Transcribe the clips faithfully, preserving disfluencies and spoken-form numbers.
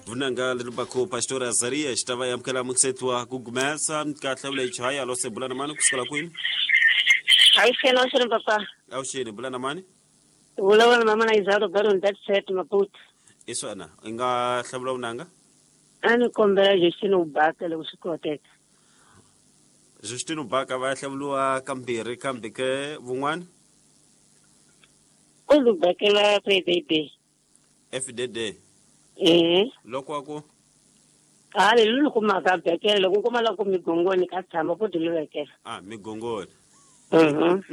Vunanga lelubako Pastor Azaria xitava yamukela muksetwa kugumesa ka hlawula ichaya lo se bulana mani kusukela kwini. Ayi no sir papa. Awuxini bulana mani? Vulavula mama na Izaro Baron that set Maputo. Iswana inga hlawula vunanga? Ani kombela Justino Ubaka loko swi koteka. Justino Ubaka va hlawuliwa kambirhi kambe ke vun'wana? U lubakela F D D. F D D. Eh. Loko ku Ah le lu kuma ka bekela loko kuma la ku migongoni ka tshama ku diluvekela. Ah migongoni. Mhm.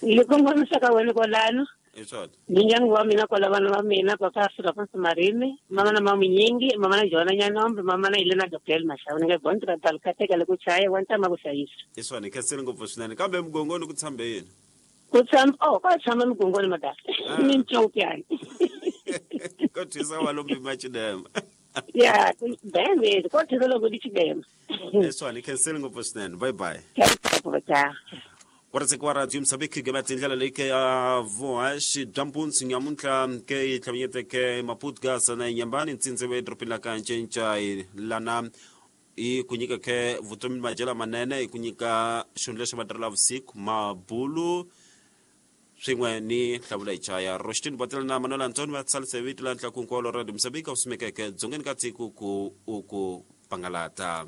Ni kongomisa ka wena kwalano. Iswona. Mindyangu wa mina kwala vana va mina papa Afrika Fonso Marimi, mama na Mamunyingi, mama na Jona Nyanombe, mama na Elena Gabriel Mashawu ni nga bontra talukateka loko chaya wa ntama ku hlayisa. Iswona khensile ngopfu swinene kambe migongoni ku tshambe yini? Ku tshama oh ka tshama migongoni madala. Mintsopyana. Ko thisa wa lombi machidema. Ya, bene, ko thisa loko di chidema. Iswona khensile ngopfu swinene. Bye bye. Ciao. Wartsek wa radio Msabiki ke batindlela leke ya voash jampunsi nyamuntlha ke tlhaminyete ke Maputo sana nyambani ntsintse we dropin la kanchencha lana i kunyika ke vutomi majela manene i kunyika xundle xa vatirhela vusiku mabulu swin'we ni hlawula ichaya Rostin Botel na Manuel Antonio va tsalise vito la ntla ku nkolo radio Msabiki u simekeke dzongeni ka tiko ku u ku pangalata.